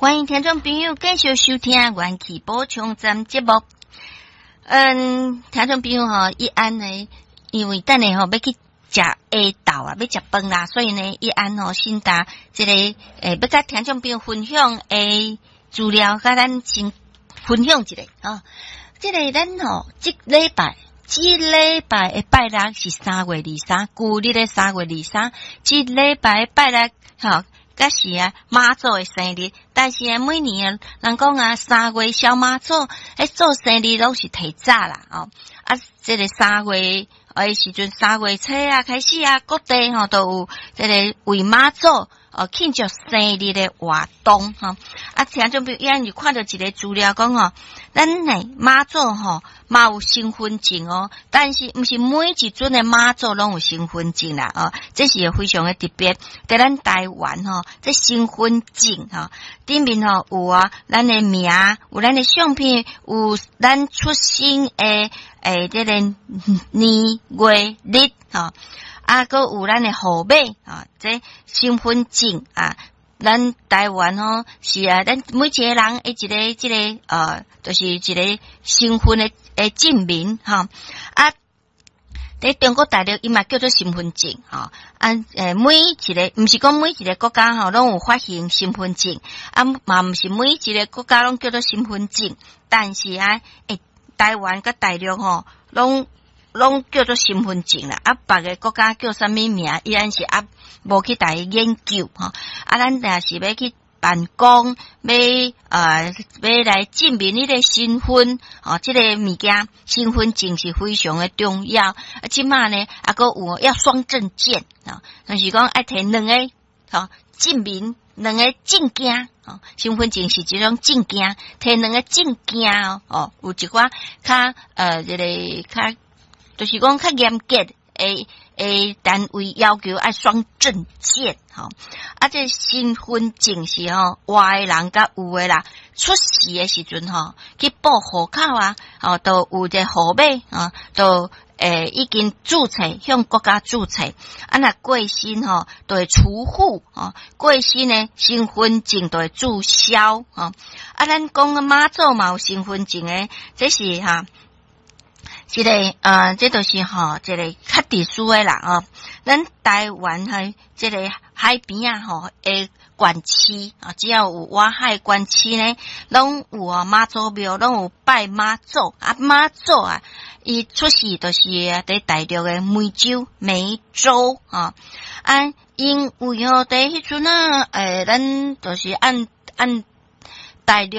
歡迎聽眾朋友繼續收聽《元氣補充站》節目。聽眾朋友吼，一安呢，因為等下吼欲去食下晝啊，欲食飯啦，所以呢，一安吼先打這个欲佮聽眾朋友分享的資料，佮咱先分享一下吼。這个咱吼，這禮拜的拜六是3月23，舊曆的三月二三，這禮拜的拜六吼，閣是啊媽祖的生日，但是啊每年啊，人講啊三月小媽祖，彼做生日攏是提早啦哦。啊，這个三月的時陣，三月初啊開始啊，各地吼都有這个為媽祖哦慶祝生日的活動吼。啊，聽眾朋友，就看著一个資料講吼，咱呢媽祖吼嘛有身份證哦，但是毋是每一尊的媽祖攏有身份證啦哦，這是非常的特別。佇咱台灣吼，這身份證吼頂面吼有啊，咱的名，有咱的相片，有咱出生的這个年月日吼，啊，閣有咱的號碼啊，這身份證啊。咱台灣吼是啊，咱每一個人的一个這个就是一個身份的證明吼。啊，佇中國大陸伊嘛叫做身份證吼。啊，每一個毋是講每一個國家吼攏有發行身份證，啊嘛毋是每一個國家攏叫做身份證，但是啊，台灣佮大陸吼攏叫做身份證啦。啊，別个國家叫啥物名，依然是啊無去共伊研究吼。啊，咱若是欲去辦公，欲來證明你的身份，哦，這個物件身份證是非常的重要。啊，這馬呢，啊，閣有要雙證件啊，就是講愛提兩个吼證明兩个證件，哦，身份證是一種證件，提兩個證件哦，哦，有一寡較這个較，就是講較嚴格的單位要求愛雙證件，吼，啊，這身份證是吼活的人佮有的啦，出世的時陣吼去報戶口啊，哦，都有一個號碼啊，都已經註冊向國家註冊，啊，若過身吼，就會除戶吼，過身呢身份證就會註銷吼。啊，咱講媽祖嘛有身份證的，這是哈。這個這就是吼，這個較特殊的啦哦。咱台灣喺這個海邊啊吼的縣市啊，只要有外海縣市呢，攏有啊媽祖廟，攏有拜媽祖啊。媽祖啊，伊出世就是佇大陸的湄洲，湄洲啊。啊，因為吼佇彼陣啊，咱就是按大陸。